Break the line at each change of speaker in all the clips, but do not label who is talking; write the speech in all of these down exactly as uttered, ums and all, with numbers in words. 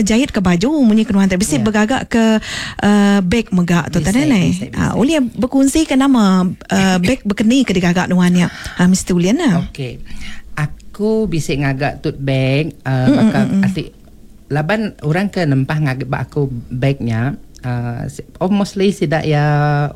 bejahit ke baju munyi kenuan tadi bisi
Ya.
bergagak ke uh, beg mega tu
Bisa,
tadi ne.
bisa, bisa.
Ah, boleh berkongsi ke nama uh, beg bekeni ke digagak nuannya. Ah, Mister Ulian lah.
Okey. Aku bisa ngagak tote bag uh, baka ati laban orang ke nempah ngagak ba aku bagnya uh, oh, mostly sidak ya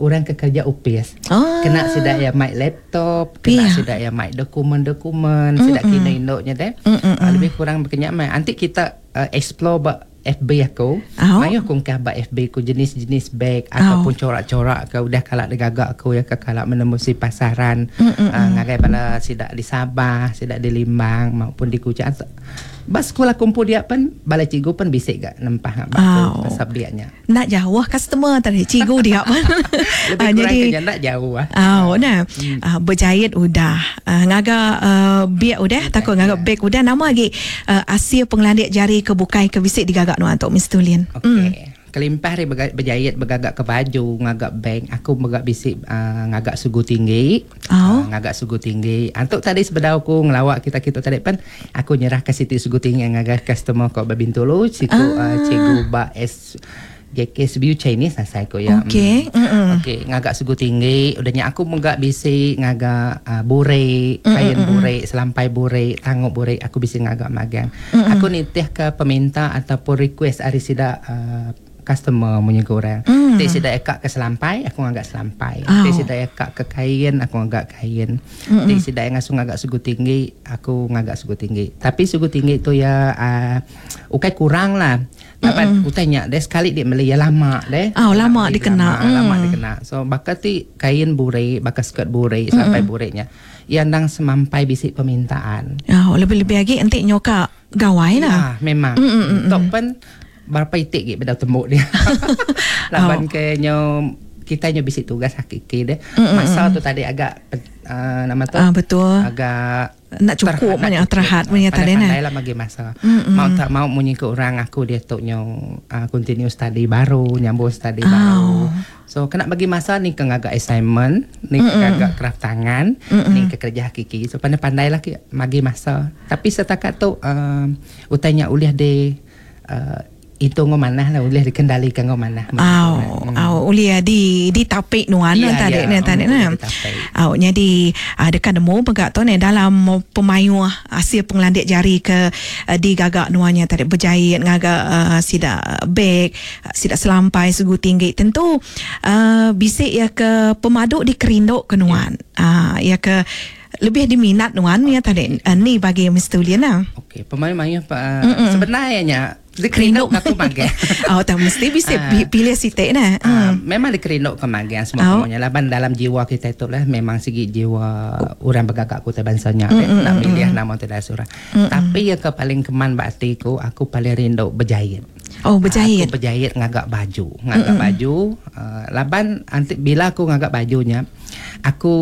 orang ke kerja upis.
Ah.
Kena sidak ya mic laptop, kena
Pia.
sidak ya mic dokumen-dokumen, sidak kena induknya deh. Uh, lebih kurang berkenyak mai. Nanti kita uh, explore ba F B aku.
Oh.
Mayuh kungkah ba F B ku jenis-jenis bag ataupun corak-corak ke udah kalak digagak aku ya ke kalak menembusi pasaran uh, ngagai bala sidak di Sabah, sidak di Limbang maupun di Kuching. Ba sekolah kumpul dia pun bala cikgu pun bisik gak nempah ngak
Oh.
aku pasal dianya.
Nak jauh customer tadi cikgu dia pun.
Lebih
Ah,
kurang
jadi
kena nak jauh ah.
Oh, nah. Hmm. Uh, berjahit udah. Uh, ngaga uh, biak udah, takut ngaga
ya.
beg udah nama lagi uh, asia penglandik jari ke bukai ke bisik digagak nuan tok Mister Lin.
Okey. Mm. Kelimpah hari berga- berjahit bergagak ke baju, ngagak bank, aku megak bisik uh, ngagak sugu tinggi.
Oh.
Uh, ngagak sugu tinggi. Antuk tadi sebedah aku ngelawak kita-kita tadi pan aku nyerah ke Siti Sugu Tinggi yang ngagak customer kok Babintulu, siku
Ah.
uh, cikgu ba S J K S B U Chinese lah saya ko ya.
Okey.
Mm. Okey, ngagak sugu tinggi, udahnya aku megak bisik ngagak uh, bure, kain bure, selampai bure, tanguk bure, aku bisik ngagak magang. Mm-mm. Aku nitih ke peminta ataupun request ari sida uh, customer punya korang. Mm. Ti sida ekak ke selampai, aku ngagak selampai.
Oh.
Ti sida ekak ke kain, aku ngagak kain. Ti sida yang ngasuh ngagak sugu tinggi, aku ngagak sugu tinggi. Tapi sugu tinggi tu ya uh, ukai kurang lah. Dapat utainya deh sekali dia beli ya lama deh.
Oh, lama
Beli
dikena.
Lama, lama
Mm.
dikena. So bakal ti kain bure, bakal skirt bure, sampai burenya. Yang dang semampai bisik permintaan.
Oh, lebih-lebih lagi entik nyoka gawai lah.
Ya, memang.
Mm,
Tok pen berapa itik gik beda tembuk dia. Laban
Oh.
ke nyo kita nyo bisik tugas hakiki deh. Masa tu tadi agak uh, nama tu
Ah, betul.
Agak
Nak cukup banyak terhad punya tadi nah.
Pandai lah bagi masa. Mm-mm. Mau tak mau munyi ke orang aku dia tu nyo uh, continue study baru, nyambung study
Oh.
baru. So kena bagi masa ni ke ngagak assignment, ni ke ngagak craft tangan, Mm-mm. ni ke kerja hakiki. So pandai-pandai lah ke bagi masa. Tapi setakat tu um, utainya uliah de uh, itu ngomong mana lah uliah dikendalikan ngomong mana.
Aw, aw, ulia di di tapik nuan
Ya,
tadi
ya.
ni tadi
Mm,
nah.
di tapik.
Aw, jadi ada kan nemu pegak tu ni dalam pemayuh hasil penglandik jari ke uh, digagak nuannya tadi berjahit ngagak uh, sidak beg, sidak selampai sugu tinggi tentu uh, bisik ya ke pemaduk di kerinduk ke nuan. Ah, ya ke lebih diminat nuan ya tadi uh, ni bagi Mister Ulian lah.
Okey, pemayu-mayu uh, sebenarnya dikerinduk aku magang.
Oh, tak mesti bisa
Ah.
pilih sitik nah.
Ah, memang dikerinduk ke magang semua
Oh.
semuanya lah. Ban dalam jiwa kita itu lah memang segi jiwa orang bergagak ku bangsanya mm, nak pilih nama tidak surah. Tapi yang ke paling keman bakti ku aku paling rindu berjahit.
Oh, berjahit.
Aku berjahit ngagak baju, ngagak mm baju. Uh, laban anti bila aku ngagak bajunya, aku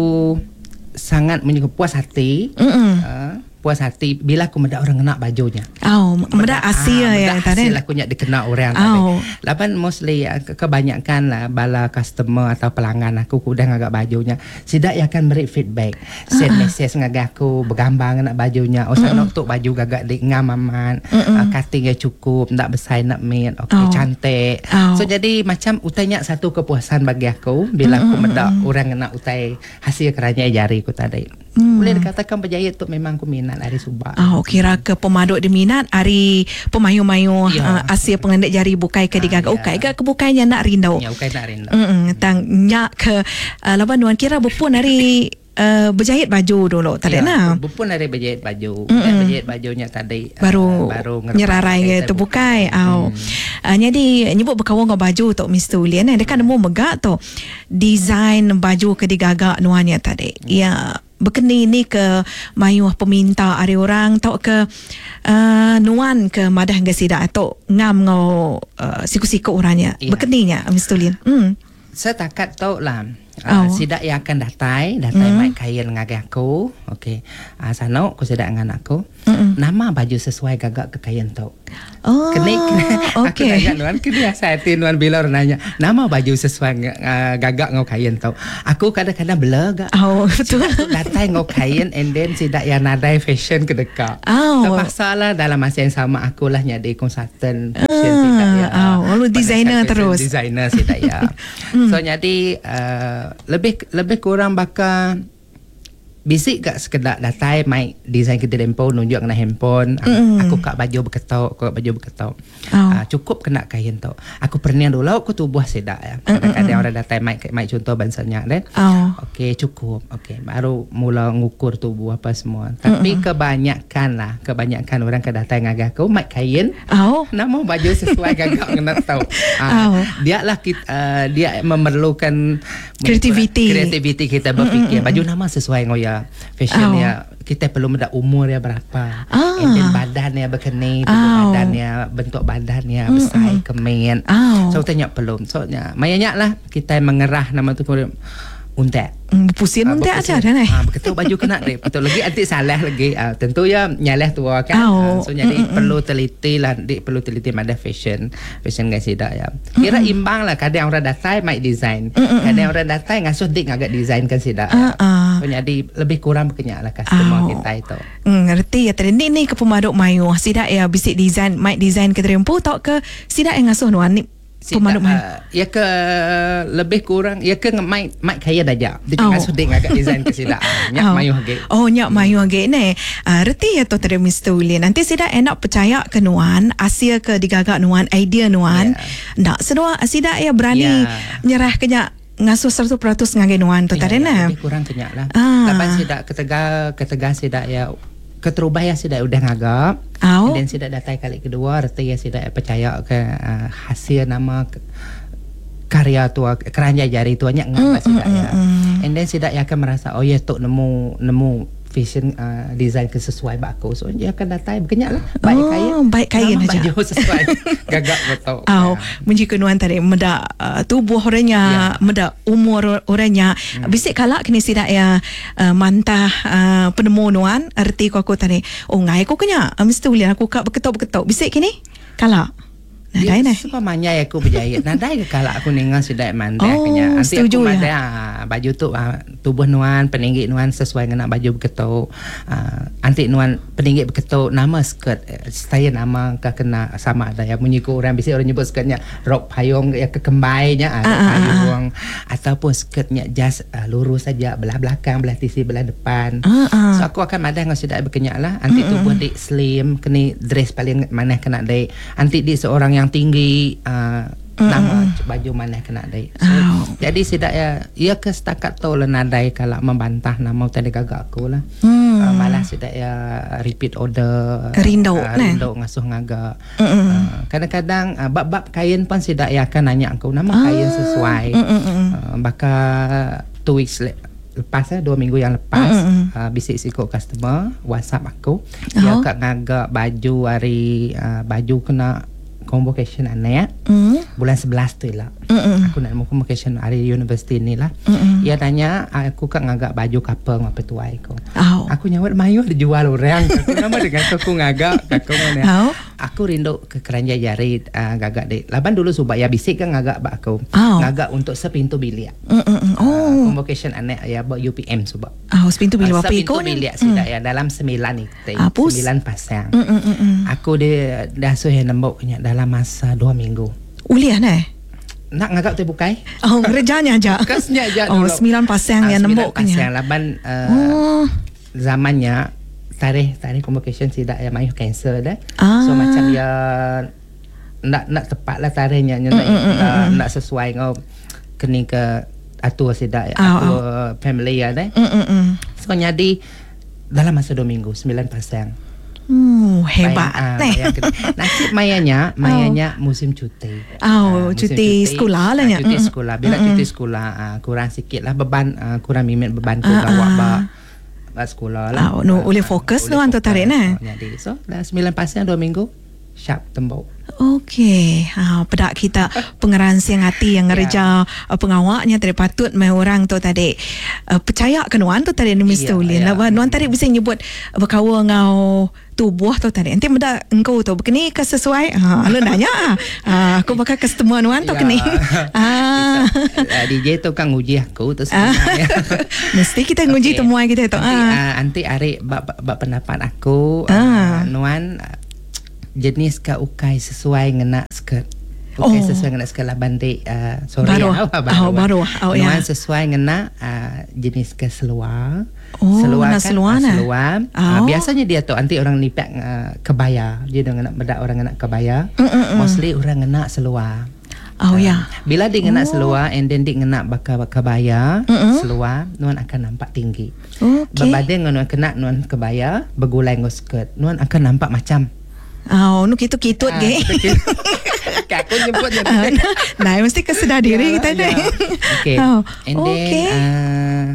sangat menyuka puas hati.
Mm-mm.
Uh, puas hati bila aku mendak orang kena bajunya.
Oh, mendak Asia
ah,
ya
mendak
tadi.
hasil aku nyak dikena orang
Oh.
tadi. Laban mostly ah, ke- kebanyakan lah bala customer atau pelanggan aku ku udah ngagak bajunya. Sidak yang akan beri feedback. Send uh-uh. message ngagak aku bergambar nak bajunya. Oh, sana tu baju gagak dik ngam aman. Uh, cutting yang cukup, ndak besar nak mit. Okey,
Oh.
cantik.
Oh.
So jadi macam utainya satu kepuasan bagi aku bila aku mendak orang kena utai hasil kerana jari ku tadi. Mm. Boleh dikatakan berjahit tu memang aku minat dari subak.
Oh, kira ke pemaduk diminat hari pemayu-mayu
Ya.
uh, asia pengendik jari bukai ke digagak
Ah, ya.
ukai ke kebukainya nak rindu.
Ya, ukai nak rindu.
Mm-mm, tang nyak ke uh, laban nuan kira berpun hari uh, berjahit baju dulu tadi
Ya,
nah.
Berpun hari berjahit baju. Mm-mm. Berjahit bajunya tadi uh,
Baru,
baru
nyerarai ke tu bukai. Au. Hmm. Uh, jadi nyebut berkawan dengan baju tok Mister Ulian eh dekat nemu megak tu design baju ke digagak nuannya tadi.
Hmm.
Ya berkeni ni ke mayuh peminta ari orang tau ke uh, nuan ke madah ke sidak atau ngam ngau uh, siku-siku orangnya.
Ya.
Berkeninya Mister Ulian. Hmm.
Setakat tu lah. Uh,
Oh.
Sidak yang akan datai, datai mm. mai kain ngagai aku. Okey. Uh, sano aku sidak dengan aku.
Mm-mm.
Nama baju sesuai gagak ke kain tu.
Oh,
Kena, kena aku
okey.
nanya nuan kena saya nuan bila orang nanya nama baju sesuai uh, gagak ngau kain tu. Aku kadang-kadang bela gak.
Oh, betul.
Datai ngau kain and then sidak yang nadai fashion ke dekat.
Oh.
Terpaksa lah dalam masa yang sama akulah jadi konsultan
Ah.
fashion uh, sida ya.
Oh, lalu designer
fashion
terus.
Designer sida ya. mm. So jadi uh, lebih lebih kurang bakal bisik gak sekedar datai mai design kita dempo nunjuk kena handphone mm. aku kak baju berketok kak baju berketok oh. uh, cukup kena kain tu aku pernah dulu aku tubuh sedak ya kadang-kadang orang datai mai mai contoh bangsanya deh oh. Okey cukup okey baru mula ngukur tubuh apa semua tapi mm-mm. kebanyakan lah kebanyakan orang ke datai ngagai aku mai kain oh. nama baju sesuai gagak kena tahu uh, oh. dia lah kita, uh, dia memerlukan
kreativiti
kreativiti kita berfikir mm-mm. baju nama sesuai ngoya fashion oh. ya kita perlu mendak umur ya berapa ah. and then badan ya berkeni tubuh oh. badan ya bentuk badan ya besar mm-hmm. kemen oh. So tanya perlu so nya mayanya lah kita mengerah nama tu untek
mm, pusing uh, untek aja dah ni
ah betul baju kena deh betul lagi anti salah lagi uh, tentu ya nyalah tua kan oh. uh, so jadi mm-mm. perlu teliti lah dik perlu teliti pada fashion fashion guys tidak ya kira mm-mm. imbang lah kadang orang datai mai design mm-mm. kadang orang datai ngasuh dik ngagak design kan sidak uh, uh. So jadi lebih kurang berkenyak lah customer oh. kita itu
mm, ngerti ya tadi ni ni ke pemaduk mayu sidak ya bisik design mai design ke terempu tok ke sidak yang ngasuh nuan ni pemaduk mayu
uh, ya ke lebih kurang ya ke mai mai kaya dah dia oh. ngasuh dik ngagak design ke sidak nyak oh. mayu age
oh nyak mayu age ne uh, reti ya tu tadi Mister Ulin nanti sidak enak percaya ke nuan asia ke digagak nuan idea nuan yeah. Nak sedua sidak ya berani yeah. nyerah ke nyak ngasuh seratus peratus ngagai nuan tu ya, tadi nah
lebih kurang kenyak lah ah. Lapan sidak ketegal ketegal sidak ya keterubah ya sidak udah ngagak oh. Dan sidak datai kali kedua reti ya sidak percaya ke uh, hasil nama ke, karya tua keranja jari tuanya ngagak mm, sidak mm, ya mm. And then sidak ya akan merasa oh ya tok nemu nemu fashion uh, design ke sesuai bak aku so dia akan datai berkenyak lah baik oh, kain
baik kain
aja baju sesuai gagak betul
oh ya. Menjika nuan tadi medak uh, tubuh orangnya ya. Medak umur orangnya hmm. Bisik kalak kini sidak ya uh, mantah uh, penemu nuan erti ku aku tadi oh ngai aku kenya uh, mesti ulian aku kak berketok-berketok bisik kini kalak
Nadai neh. Sebab manyai aku berjaya. Nadai ke kalak aku ningan sudah mandai
oh,
kenya. Nanti
setuju
aku mandai
ya.
Ah, baju tu ah, tubuh nuan peninggi nuan sesuai dengan baju berketuk. Ah, anti nuan peninggi berketuk nama skirt saya nama ke kena sama ada ya bunyi ku orang bisi orang nyebut skirtnya rok payung ya kekembainya ah, rok payung ah, ataupun skirtnya just uh, lurus saja belah belakang belah tisi belah depan. Ah, ah. So aku akan madai dengan sudah berkenyak lah. Anti mm-hmm. tubuh dik slim kini dress paling mana kena dik. Anti dik seorang yang tinggi uh, mm. nama baju mana kena dai. So, oh. Jadi sidak ya ia ke setakat tu lah nadai kalau membantah nama tadi gagak aku lah. Mm. Uh, malah sidak ya repeat order
rindu
uh, rindu ngasuh ngagak. Uh, kadang-kadang uh, bab-bab kain pun sidak ya akan nanya aku nama ah. kain sesuai. Mm-mm. Uh, bakal two weeks le- lepas eh, dua minggu yang lepas mm-hmm. uh, bisik sikok customer WhatsApp aku dia oh. kat ngagak baju hari uh, baju kena convocation anak mm. bulan sebelas tu lah. Mm-mm. Aku nak mau convocation hari universiti ni lah. Mm-mm. Ia tanya aku kat ngagak baju couple ngapa tuai aku. Oh. Aku nyawat mayu dijual orang. Aku nama dengan aku ngagak aku mana. Oh. Aku rindu ke keranja jari uh, gagak dek. Laban dulu subak ya bisik kan ngagak bak aku. Oh. Ngagak untuk sepintu bilik.
Mm-mm. Oh.
Uh, convocation anak ya bak U P M subak.
Oh, sepintu bilik
uh, sepintu bilik mm. Sidak ya dalam sembilan itu. Ah, sembilan pasang. Mm-mm. Aku dia dah suruh nembok nya dalam masa dua minggu.
Uliah neh?
Nak ngagak tu bukai?
Oh, kerjanya aja.
Kasnya aja
dulu. Oh, sembilan pasang ah, yang nembok
pasang laban uh, oh. Zamannya tarikh tarikh convocation tidak ya mayu cancel dah. Ah. So macam ya nak nak tepat lah tarikhnya mm, mm, mm, mm. nak sesuai ngau kini ke atur sidak oh, atur oh. family ya deh. Mm,
mm, mm.
So jadi dalam masa dua minggu sembilan pasang.
Hmm, hebat
bayang, ah, nasib mayanya, mayanya oh. musim cuti.
Oh, uh, musim cuti, cuti sekolah lah
nya. Cuti sekolah. Bila mm-mm. cuti sekolah uh, kurang sikit lah beban, uh, kurang mimit beban ku uh, bawa uh. ba ba sekolah lah.
Oh, no, boleh fokus uh, tu tarik nah.
Jadi so dah sembilan pasang dua minggu sharp tembok.
Okey, ha pedak kita pengeransing hati yang ngereja yeah. pengawaknya tadi patut mai orang tu tadi uh, percaya ke nuan tu tadi ni Mister Ulin. Yeah, yeah. Nuan tadi bisa nyebut berkawa ngau tubuh tu tadi. Nanti meda engkau tu begini ke sesuai? Ha lu nanya ah. Ha, aku bakal customer nuan tu kini.
Ah. D J tu kan nguji aku tu sebenarnya.
Mesti kita nguji okay. Temuan kita tu.
Nanti ah. Nanti ari bab bab pendapat aku ah. uh, nuan jenis ke ukai sesuai ngena Bukan
Oh.
sesuai ngena skirt laban di uh, sorry
Baru.
ah,
Oh, baru. Oh, ya.
Nuan sesuai ngena uh, jenis ke seluar.
Oh,
seluar
ngena
kan,
seluar
ah,
nah.
seluar.
Oh.
Ah, biasanya dia tu nanti orang nipak uh, kebaya. Dia dah ngena bedak orang ngena kebaya.
Mm, mm, mm.
Mostly orang ngena seluar.
Oh ya.
Bila dia ngena
Oh.
seluar and then dia ngena bakal kebaya
Mm-mm.
seluar, nuan akan nampak tinggi.
Okey.
Berbanding dengan nuan kena nuan kebaya bergulai dengan skirt, nuan akan nampak macam
Oh, nu kitu-kitut
Ah,
ge.
kitu-kitu. Aku nyebut je.
Ah, Nah, mesti kesedar diri kita ni.
Ya. Okay.
Oh,
And then
okey.
uh,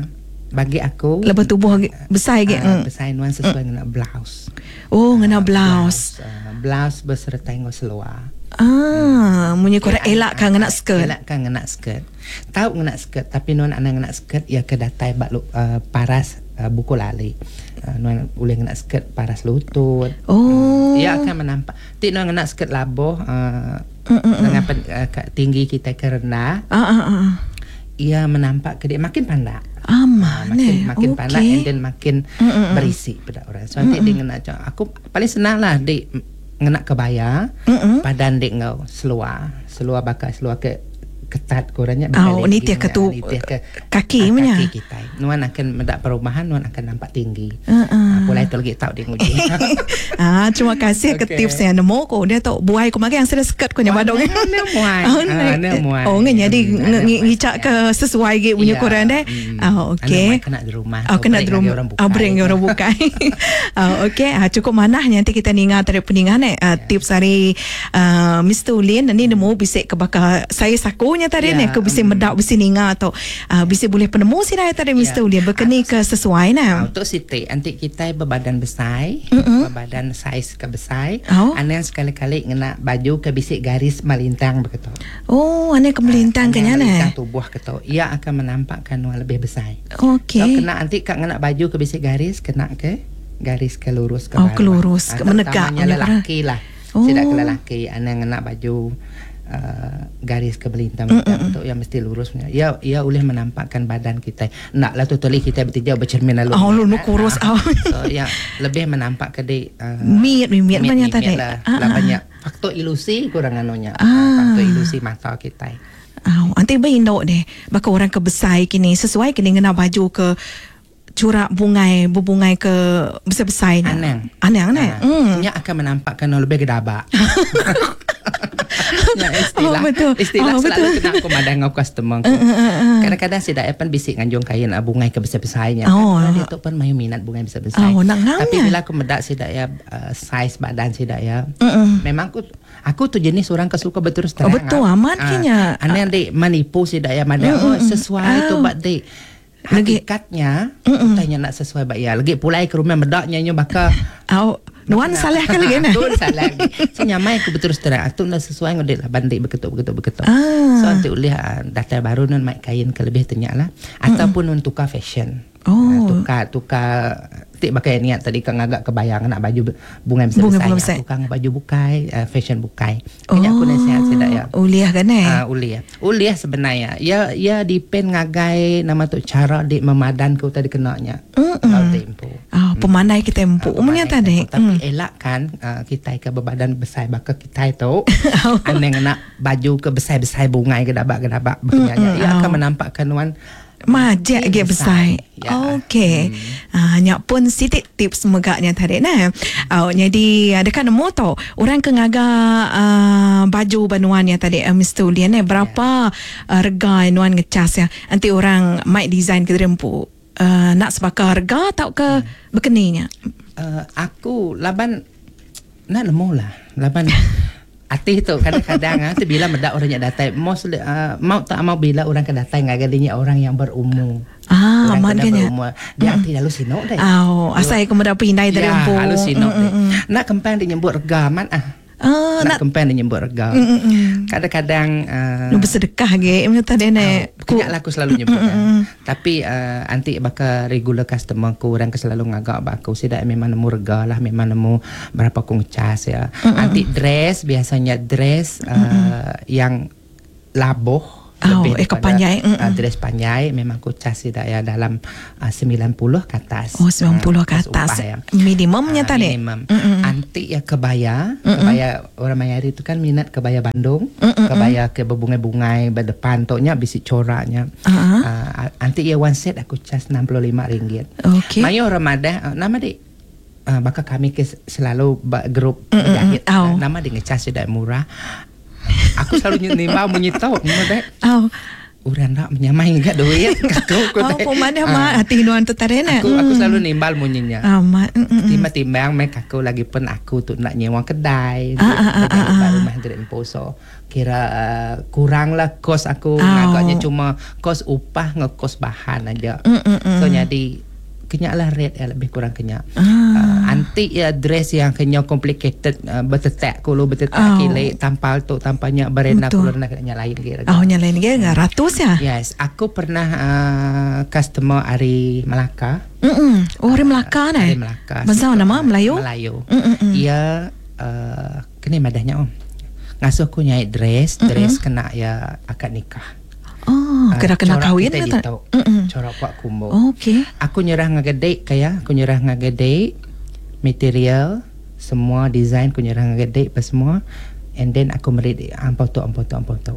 bagi aku
Lebih tubuh ge- besar ge.
ah,
Mm.
besar nuan sesuai dengan blouse.
Oh, ngena blouse.
Blouse, ah, blouse beserta dengan seluar.
Ah, munyi korang elak kan ngena skirt.
Elak kan ngena skirt. Tahu ngena skirt tapi nuan anak ngena skirt ya ke datai bak lu, uh, paras uh, buku lali. Uh, nuan boleh ngena skirt paras lutut.
Oh.
Ia akan menampak. Tik nuan ngena skirt labuh uh,
Mm, mm, mm.
dengan pen, uh, tinggi kita ke rendah,
Ah ah ah.
ia menampak ke dia makin pandak.
Ah,
Ah,
mana?
makin makin
Okey.
pandak and then makin
Mm, mm, mm.
berisi pada orang. So nanti dia ngena aku paling senang lah di ngena kebaya
Mm, mm.
padan dik ngau seluar seluar bakal seluar ke ketat kurangnya
Oh, ni tiap ke tu, kaki
ah,
punya.
kaki kita. Nuan akan mendak perubahan, nuan akan nampak tinggi.
Uh, uh.
Ah, pulai tu lagi tahu dia nguji.
Ah, terima kasih ke
Okey.
tips yang nemu ko dia tu buai ko magang sudah skirt ko nya badong.
Ne muai.
Oh,
Ah, ne muai.
Oh, nge jadi
Hmm, ne muai.
ngicak ke sesuai ge punya
Ya,
korang deh.
hmm.
Ah, okey.
Ane muai kena di rumah.
Oh, kena
Break
di rumah.
lagi orang bukai.
Ah, break orang bukai. Ah, okey, ah, cukup manah nanti kita ninga dari peningan eh ah, tips hari ah, Mister Ulin ni nemu bisik ke bakal saya sakunya tadi
Ya,
ni ke bisik
hmm.
medak bisik ninga atau ah, bisik boleh penemu sini tadi Mister
Ya.
Ulin berkeni ke sesuai
Ah,
nah.
untuk Siti, nanti kita berbadan besar,
Mm-mm.
berbadan saiz ke besar.
Oh.
Ane yang sekali-kali ngena baju ke bisik garis melintang begitu.
Oh, ane ke melintang
Ah, ane
kenya
yang
nah.
melintang tubuh ketu. Ia akan menampakkan nuan lebih besar.
Okey.
So kena nanti kak ngena baju ke bisik garis, kena ke garis ke lurus ke
Oh,
bawah.
ke lurus,
Ah,
ke menegak
terutamanya
punya
lelaki lah.
Oh.
Tidak ke lelaki, ane ngena baju uh, garis ke melintang-melintang tu yang mesti lurus punya. Ia ia boleh menampakkan badan kita. Nak lah totally kita bertiga bercermin lalu.
Oh, lu nu kurus,
Ah,
oh.
So yang lebih menampak ke di uh,
Miet, miet banyak tadi.
lah.
Ah,
Lah
ah.
banyak faktor ilusi kurang anunya.
Ah.
Faktor ilusi mata kita.
Oh, nanti berinduk deh. Baka orang ke besar kini sesuai kini ngena baju ke curak bungai berbungai ke besar-besar ni.
Anang.
Anang ne.
Ah,
Hmm.
Nya akan menampakkan lebih gedabak. Ya, istilah,
Oh, betul.
Istilah
Oh,
selalu
betul.
kena aku madang ngau customer aku. Kadang-kadang si dak pan bisik nganjung kain ah, bungai ke besar-besarnya.
Oh.
Kan, dia tu pun mayu minat bungai besar-besar.
Oh, nak ngam
Tapi
nya.
bila aku medak si dak ya uh, size badan si dak ya.
Mm-mm.
Memang aku aku tu jenis orang ke suka berterus terang.
Oh, betul,
ah.
amat
Ah,
kenya.
Aneh dik menipu si dak ya madang. Oh, sesuai tu
Ah.
bak dik.
Lagi-
Hakikatnya tanya nak sesuai bak ya. Lagi pulai ke rumah medaknya nyo bakal
Oh, nuan salah kali lagi ne.
Aku salah lagi. So nyamai aku berterus terang. Aku nak sesuai dengan lah bandik beketuk beketuk beketuk.
Ah.
So nanti ulih ah, data baru nun mai kain ke lebih tenyak lah. Ataupun nun tukar fashion.
Oh.
Ah, tukar tukar tik pakai niat tadi kan agak kebayang nak baju bunga besar
Bunga- bunga
besar.
besar.
Tukar baju bukai, ah, fashion bukai. Kayaknya aku nasihat saya ya.
Uliah kan eh.
Ah, uliah. Uliah sebenarnya. Ya ya depend ngagai nama tu cara dik memadan ke tadi kenanya.
Mm-mm.
Kalau tempo.
Oh, pemandai kita empuk punya tadi.
Tapi
Hmm.
elak kan uh, kita ke berbadan besar baka kita itu aneh ngena baju ke besar-besar bungai ke dabak-kedabak berkenanya.
Mm-mm.
Ia akan
Oh.
menampakkan wan
Majak
makin
ge besar.
Ya.
Okey. Hmm. Ah, nyak pun sitik tips megaknya tadi nah. Oh, jadi ada kan nemu tau orang ke ngaga uh, baju banuan ya tadi uh, Mister Ulian eh berapa ya. uh, rega nuan ngecas ya. Nanti orang mic design ke rempu uh, nak sebaka harga atau ke hmm. berkeninya.
Uh, aku laban nak nemu lah. Laban Ati tu kadang-kadang ah tu bila medak orang yang datang mostly uh, mau tak mau bila orang ke datang ngagalinya orang yang berumur.
Ah,
orang
aman
ke dah
kan ya?
berumur. Dia ati lalu sinok deh.
Oh, asal aku medak pindai dari
Ya,
empu.
halus sinok
Mm,
deh.
mm, mm.
Nak kempang dia nyebut rega man ah.
Ah,
nak
nak
kempang dia nyebut rega.
Mm, mm, mm.
Kadang-kadang uh,
Nu bersedekah ge punya tadi ne.
Kenyak lah aku selalu nyebut kan. Tapi uh, anti bakal regular customer aku orang ke selalu ngagak bak aku sidak memang nemu rega lah memang nemu berapa aku ngecas ya. Anti dress biasanya dress uh, yang labuh
Oh, eh, ke panjai.
Uh, dress panjai memang aku cas tidak ya dalam uh, sembilan puluh ke atas.
Oh, sembilan puluh ke
uh,
atas.
Upah, ya.
Minimumnya
uh,
tadi.
Minimum. Mm-mm. Anti ya kebaya, Mm-mm. kebaya orang Mayari itu kan minat kebaya Bandung, Mm-mm. kebaya ke berbungai-bungai berdepan toknya bisi coraknya.
Uh-huh.
Uh, anti ya one set aku cas enam puluh lima ringgit.
Okey.
Mayo Ramadan uh, nama dik uh, bakal kami ke selalu grup jahit.
Oh.
Nama dia ngecas tidak murah. Aku selalu nimbau menyitau nama dek.
Oh.
Orang nak menyamai enggak duit aku aku.
Oh, pemana mak hati nuan tu tadi nak.
Aku aku selalu nimbal bunyinya.
Amat.
Timbang-timbang mek aku lagi pun aku tu nak nyewa kedai.
Ah, ah, ah, ah.
Rumah direk poso. Kira uh, kurang lah kos aku
oh.
Ngagaknya cuma kos upah nge kos bahan aja.
Mm, mm, mm.
So jadi kenyak lah rate ya, lebih kurang kenyak.
Ah.
Uh, anti ya dress yang kenyok complicated uh, bertetek kulo bertetek
oh.
Kile tampal tu tampalnya berena kulo nak nya lain kira.
Oh nya lain kira ratus ya.
Yes, aku pernah uh, customer ari Melaka.
Mm. Oh, ari Melaka uh,
ni. Ari Melaka.
Bahasa nama Melayu?
Melayu.
Mm-mm.
Ia uh, kene madahnya om. Ngasuh aku nyai dress, dress Mm-mm. kena ya akad nikah.
Oh, kena kena kahwin
ke tak? Corak kuat kumbu.
Okey.
Aku nyerah ngagedek kaya, aku nyerah ngagedek material, semua design aku nyerah ngagedek apa semua. And then aku meri ampau tu ampau tu ampau tu.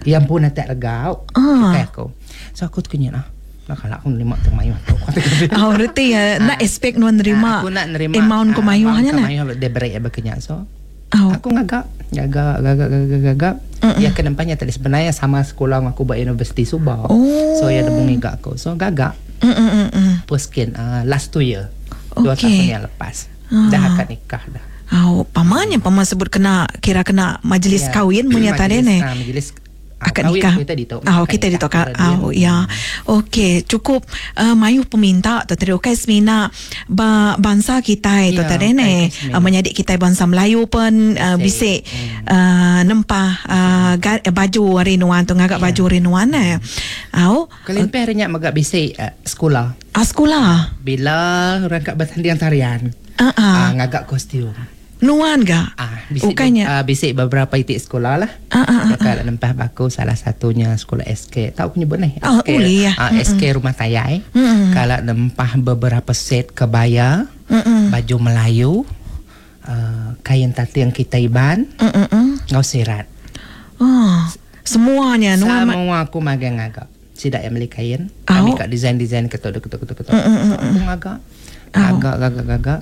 Yang pun tak regau.
Ah.
Kai aku. So aku tu kenyat ah. Nak kalau aku nerima tu mayuh tu.
Oh, reti ya. Nak expect nuan nerima.
Aku nak nerima
amount ku mayuhnya
nak. Mayuh dia beri ya berkenyak. So
oh.
Aku ngagak, gagak, gagak, gagak, gagak. Ya kenempahnya tadi sebenarnya sama sekolah aku buat universiti Subang.
Oh.
So ya ada bunyi gak aku. So gagak.
Mm-mm.
Puskin uh, last two year.
Okay.
Dua tahun yang lepas.
Ah.
Dah akad nikah dah.
Oh, pamannya paman sebut kena kira kena majlis
ya.
kahwin punya tadi ni.
Ah, majlis
akad nikah.
Kita ditok.
Ah, kita ditok. Ah, ya. Okey, cukup uh, mayu peminta tu tadi okey semina ba, bangsa kita itu
ya,
tadi ni. Uh, menyadik kita bangsa Melayu pun uh, bisik uh, nempah uh, ga, baju hari nuan tu ngagak
ya.
baju hari nuan eh. Au.
Kelimpah uh, renyak megak bisik uh, sekolah.
Ah, sekolah.
Bila orang kat bertanding tarian.
Ah, uh-uh.
uh, ngagak kostum.
Nuan ga?
Ah, bisik,
Bukannya.
Uh, bisik beberapa titik sekolah lah.
Ah, ah, ah,
ah. Nempah baku salah satunya sekolah S K. Tahu aku nyebut ni?
Oh,
S K,
boleh ya.
Uh, S K Rumah Tayai.
Mm-mm.
Kalau nempah beberapa set kebaya,
Mm-mm.
baju Melayu, uh, kain tatiang kita Iban, ngau sirat.
Oh, semuanya nuan.
Semua aku magang agak. Sidak yang beli kain.
Oh.
Kami kat design-design ketuk ketuk ketuk ketuk. So, aku ngagak. Agak agak agak.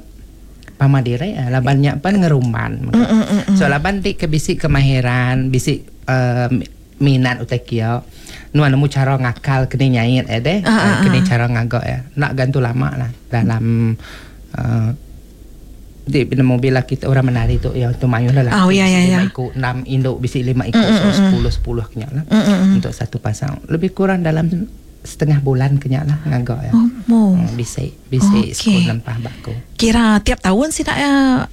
Pama dire laban nyak pan ngerumban.
Mm, mm, mm,
So laban dik ke bisik kemahiran, bisik uh, minat utai kia. Nuan nemu cara ngakal kene nyait eh deh,
Ah, ah,
kene
ah.
cara ngagak ya. Nak gantu lama lah dalam uh, di nemu bila kita orang menari tu ya tu mayuh lah.
Oh, ya, ya,
lima
ya.
ikut, enam induk bisik lima ikut,
Mm,
so
mm, mm.
sepuluh sepuluh kenyak lah.
Mm, mm, mm.
Untuk satu pasang. Lebih kurang dalam setengah bulan kenyak lah ngagak ya.
Oh, oh.
Hmm, bisik, bisik
Okey.
sekolah nempah baku.
Kira tiap tahun sih nak uh,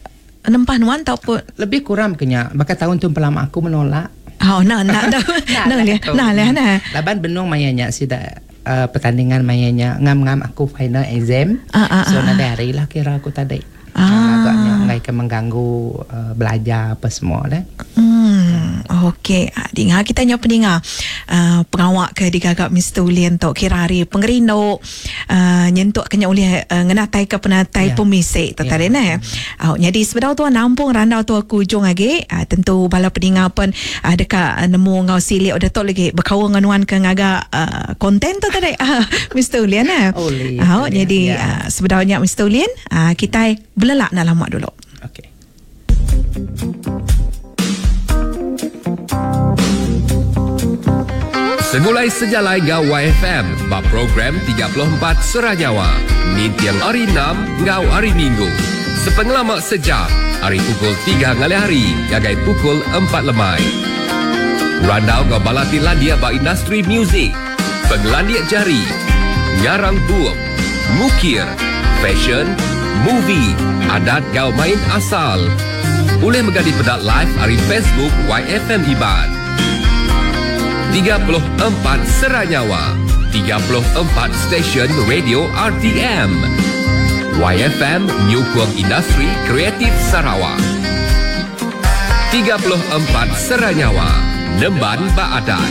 nempah nuan ataupun
Lebih kurang kenyak. Bahkan tahun tu pelama aku menolak.
Oh, nah, nah, nah, nah, nah, nah, nah, nah.
Laban benung mayanya sida uh, pertandingan mayanya ngam-ngam aku final exam.
Ah, ah,
so
ah,
nanti hari lah kira aku tadi.
Ah.
Agaknya ngai ke mengganggu uh, belajar apa semua dah.
Hmm, okey. Ah, dengar kita nyo pendengar. Uh, pengawak ke digagap Mister Ulian tok kira hari pengerindu uh, nyentuk kena oleh uh, ngenatai ke penatai
Ya.
pemisik tu
Ya.
tadi ne. Uh, jadi sebenar tu nampung randau tu aku ujung lagi. Uh, tentu bala pendengar pun uh, dekat uh, nemu ngau silik udah tok lagi berkawan dengan nuan ke ngagak uh, konten tu tadi. Uh, Mister Ulian eh.
Boleh,
Uh,
boleh,
jadi
ya.
uh, sebenarnya Mister Ulian uh, kita belelak nak lama dulu.
Okey.
Segulai sejalai ngau Y F M bab program tiga puluh empat Seranyawa. Nintiang hari enam ngau hari Minggu. Sepengelama sejam, hari pukul tiga ngalih hari, gagai pukul empat lemai. Randau ngau balati landia ba industri muzik, penglandia jari, ngarang bup, mukir, fashion, movie, adat gau main asal. Boleh mengganti pedak live hari Facebook Y F M Iban. tiga puluh empat Seranyawa, tiga puluh empat Stesen Radio R T M. Y F M Nyukung Industri Kreatif Sarawak. tiga puluh empat Seranyawa, Nemban Baadat.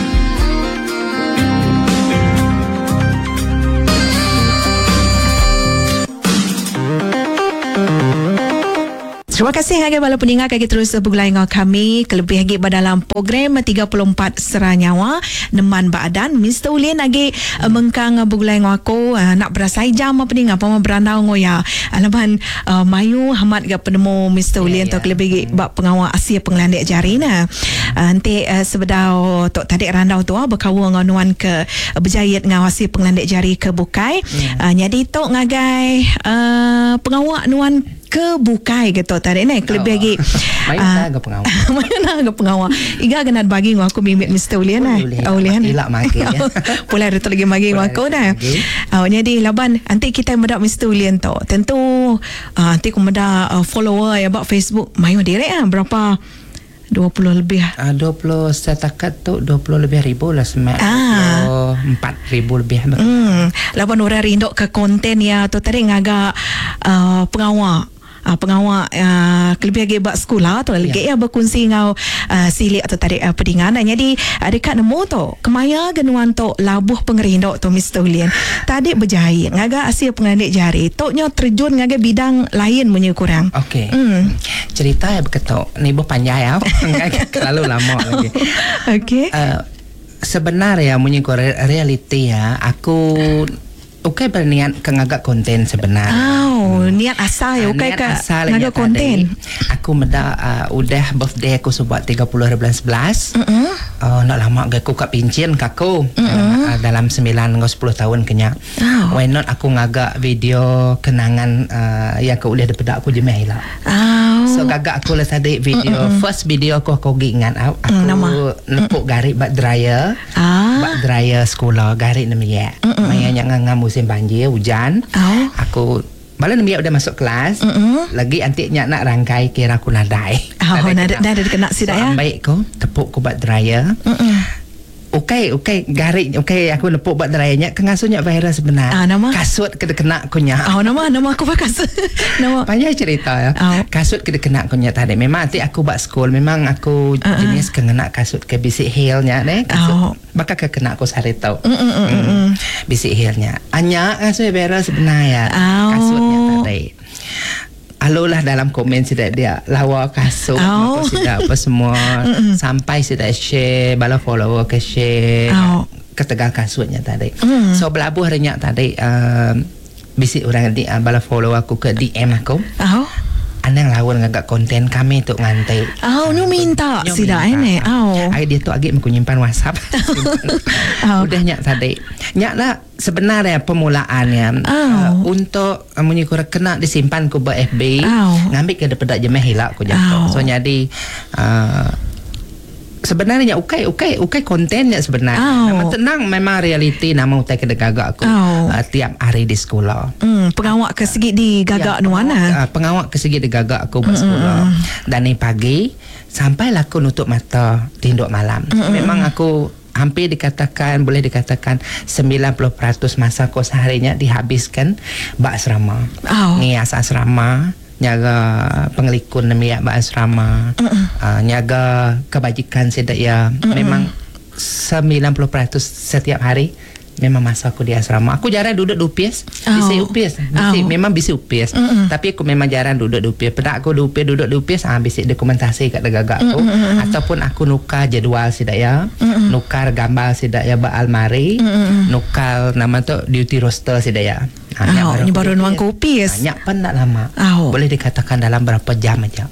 Terima kasih ngagai bala peninga kaki terus begulai ngau kami kelebih lagi dalam program tiga puluh empat Sera Nyawa Neman Baadan. Mister Ulin lagi hmm. mengkang begulai ngau aku nak berasai jam apa peninga apa berandau ngau ya. Alaban uh, mayu hamat ga penemu Mister Ulin yeah, tu yeah. kelebih lagi hmm. bab pengawal asia pengelandik jari nah. Uh, nanti uh, sebedau tok tadi randau tu berkaul ngau nuan ke uh, berjayat ngau asia pengelandik jari ke bukai. Yeah. Uh, jadi tok ngagai uh, pengawal nuan ke bukai gitu tadi ni kelebih lagi
main uh, ke pengawal
mana ke pengawal iga kena bagi ngau aku mimit Mister Ulin eh Ulin
ilak magi ya
pulai tu lagi magi ngau aku dah. Oh jadi laban nanti kita medak Mister Ulin tu tentu uh, nanti aku medak uh, follower ya bab Facebook mayu direk ah berapa dua puluh lebih.
Ah uh, dua puluh setakat tu dua puluh lebih ribu lah semak. Ah. dua puluh empat ribu lebih.
Hmm laban orang rindok ke konten ya tu tadi ngagak uh, pengawal Uh, pengawal uh, kelebih lagi buat sekolah tu lagi ya, ya berkongsi ngau uh, silik atau tarik uh, pedingan. Jadi uh, dekat nemu tu kemaya genuan tu labuh pengerindok tu Mister Ulin tadi berjahit ngagak asil pengelandik jari toknya terjun ngagak bidang lain punya kurang.
Okey. Hmm. Cerita ya beketok ni boh panjang ya. Terlalu lama lagi.
Okey.
Uh, sebenarnya munyi realiti ya aku okey berniat ke ngagak konten sebenarnya.
Oh, hmm. niat asal ya okey ke ngagak konten.
Aku meda uh, udah birthday aku sebab tiga puluh bulan sebelas. Uh-uh. Uh, nak lama ge aku kat pincin kaku. Uh-uh. Uh, dalam sembilan hingga sepuluh tahun kenya. Oh. Why not aku ngagak video kenangan uh, yang ke ulih daripada aku je meh lah.
Oh.
So gagak aku lah tadi video uh-uh. first video aku aku ingat aku mm, nepuk garik bak dryer.
Ah.
Bak dryer sekolah garik nemiak. Uh-uh. Maya nya ngangam musim banjir hujan.
Oh.
Aku malah nemiak udah masuk kelas.
Mm-mm.
Lagi antik nyak nak rangkai kira aku nadai.
Oh, nadai nadai kena sidak
so,
ya.
Baik ko tepuk ko bak dryer.
Mm-mm.
Okey, okey, garik okey aku nepuk bak dryer nya kengasuhnya viral sebenar.
Ah, nama?
Kasut kena kena aku nya.
Oh, nama nama aku bak kasut. Nama.
Panjang cerita ya.
Oh.
Kasut kena kena aku nya tadi. Memang antik aku bak school memang aku
uh-uh.
jenis kena kasut ke bisik heel nya deh. Kasut
oh.
Bakal ke kena aku sehari tau.
Mm, mm, mm, mm.
Bisik heel nya. Anya kasut viral sebenar ya.
Oh.
Kasutnya tadi. Alulah dalam komen sidak dia lawa kasut
oh.
apa sidak apa semua sampai sidak share bala follower ke share
oh.
ketegal kasutnya tadi.
Mm.
So belabuh renyak tadi um, bisik orang di uh, bala follower aku ke D M aku.
Oh.
Anang lawan ngagak konten kami tu ngantai.
Oh, nu minta sidak ini. Oh.
Ai dia tu agak aku nyimpan WhatsApp.
Oh.
Udah nyak tadi. Nyak lah sebenarnya permulaannya
oh.
uh, untuk uh, munyi kurang kena disimpan ku ba F B.
Oh.
Ngambil ke daripada jemeh hilak ku jatuh.
Oh.
So jadi uh, sebenarnya ukai ukai ukai kontennya sebenarnya.
Oh.
Nama tenang memang realiti nama utai kena gagak aku
oh.
uh, tiap hari di sekolah.
Hmm, pengawak ke segi di gagak
ya,
nuana.
Uh, pengawak ke segi di gagak aku mm-hmm. sekolah. Dan ni pagi sampailah aku nutup mata tinduk malam.
Mm-hmm.
Memang aku hampir dikatakan boleh dikatakan sembilan puluh peratus masa aku seharinya dihabiskan bak asrama.
Oh.
Ngias asrama, nyaga pengelikun nemiak bak asrama, uh, nyaga kebajikan sedak ya.
Mm-mm.
Memang sembilan puluh peratus setiap hari memang masa aku di asrama. Aku jarang duduk di upis.
Oh.
Bisi upis. Bisi,
Oh.
memang bisi upis.
Mm-mm.
Tapi aku memang jarang duduk di upis. Pedak aku di upis, duduk di upis, ah bisi dokumentasi kat gagak aku.
Mm-mm.
Ataupun aku nukar jadual sidak ya.
Mm-mm.
Nukar gambar sidak ya ba almari.
Mm-mm.
Nukar nama tu duty roster sidak ya. Ha,
Oh, ni baru nuang ke upis.
Ha, nyak penat lama.
Oh.
Boleh dikatakan dalam berapa jam aja.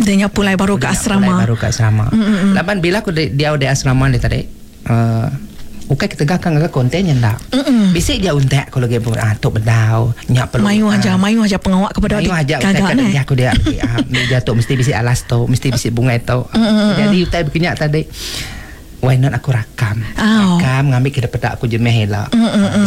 Dan nyak pulai baru ke asrama.
Pulai baru ke asrama.
Mm-mm.
Laban bila aku di, dia di asrama ni tadi, uh, ukai ketegakkan ke kontennya ndak.
Mm-mm.
Bisik dia untak kalau dia ah tok bedau, nyak perlu.
Mayu aja, mayu aja pengawak kepada
Mayu aja utai
kagak
kat
ni.
dia aku dia ah meja tok mesti bisik alas tok, mesti bisik bunga tok. Jadi utai berkenyak tadi. Why not aku rakam?
Oh.
Rakam ngambil ke daripada aku jemeh lah.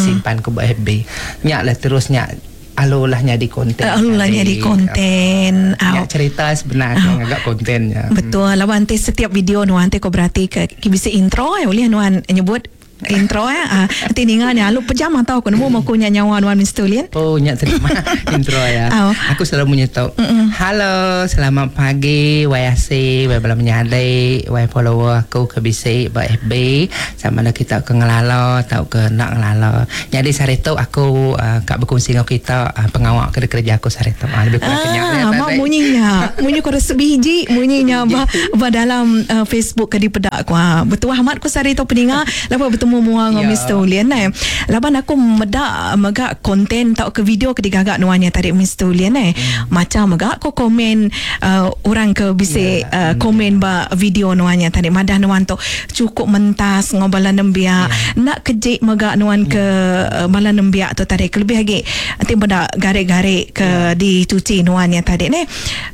Simpan ke buat F B. Nyak lah terus nyak alulah nyadi konten.
Alulah nyadi konten.
Nyak
Au.
cerita sebenarnya agak kontennya.
Betul. Lawan nanti setiap video nuan nanti kau berarti ke, ke bisa intro ya boleh nuan nyebut Intro eh. Ah, nanti ninga nya lu pejam atau aku nemu mau kunya nyawa nuan Mister Ulin.
Oh, nyak terima intro ya.
Oh.
Aku selalu menyetok. Halo, selamat pagi Y C, Y bala menyadi, Y follower aku ke B C ba F B sama ada kita ke ngelala atau ke nak ngelala. Jadi sehari tu aku uh, kak berkongsi dengan kita uh, pengawak ke kerja aku sehari tu. Ah, lebih kurang kenyak
Ah, mak bunyinya. Bunyi kau rasa sebiji bunyinya ba, ba dalam uh, Facebook ke di pedak aku. Ha. Betul amat ku sehari tu peninga lepas bertemu mua dengan
Ya.
Mister Ulin eh. Laban aku medak megak konten tau ke video ke digagak nuannya tadi Mister Ulin eh. Hmm. Macam megak aku komen uh, orang ke bisa
Ya.
uh, komen ba video nuannya tadi madah nuan tu cukup mentas ngobala nembiak.
Ya.
Nak kejik megak nuan ke uh, bala nembiak tu tadi kelebih lagi nanti benda garik-garik ke
Ya.
dicuci nuannya tadi ni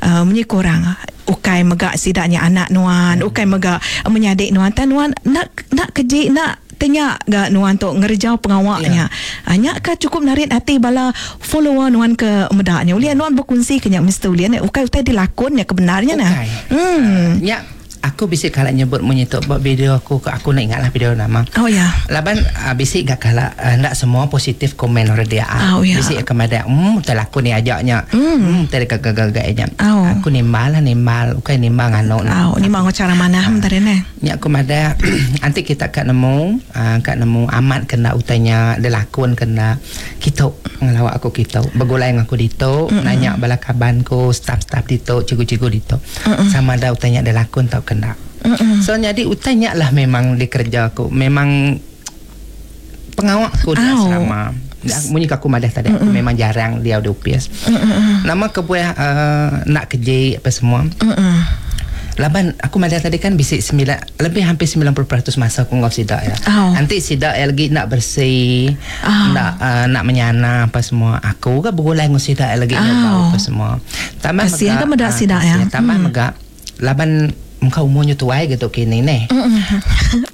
uh, munyi kurang ukai megak sidaknya anak nuan
Hmm.
ukai megak menyadik nuan tan nuan nak nak kejik nak tanya gak nuan tu ngerjau pengawaknya.
Ya.
Hanya ka cukup narik hati bala follower nuan ke medaknya. Ulian nuan berkongsi kenyak Mister Ulian ukai utai dilakonnya kebenarnya nah.
Ukai.
Hmm.
Ya, aku bisa kalau nyebut munyi tu buat video aku aku nak ingatlah video nama.
Oh ya.
Laban uh, bisik gak kala uh, nak semua positif komen orang dia.
Oh, ya.
Bisik kepada hmm terlaku ni ajaknya. Hmm hmm tergagak-gagaknya.
Oh.
Aku nimbal lah nimbal, bukan nimbal ngano.
Oh, ni mau cara mana hmm tadi ne.
Nyak aku mada nanti kita kat nemu uh, kat nemu amat kena utanya dilakon kena kita ngelawak aku kita bergulai dengan aku dito mm-hmm. nanya bala kaban ku staff-staff dito cikgu-cikgu dito mm-hmm. sama ada utanya dilakon tau kena mm-hmm. So jadi utanya lah memang dikerja aku memang pengawak aku di
Au.
asrama. Munyi aku madah tadi aku memang jarang dia di U P S.
Mm-mm.
Nama kebuah uh, nak kerja apa semua.
Mm-mm.
Laban aku madah tadi kan bisik sembilan lebih hampir sembilan puluh peratus masa aku ngau sidak ya.
Oh.
Nanti sidak ya lagi nak bersih,
Oh.
nak uh, nak menyana apa semua. Aku ke bergulai ngau sidak lagi
Oh.
nak bau apa semua. Tambah
Kasihan kan medak
ah,
sidak ya.
kasihan. Tambah
Hmm.
megak laban muka umurnya tuai gitu kini neh.
Mm-mm.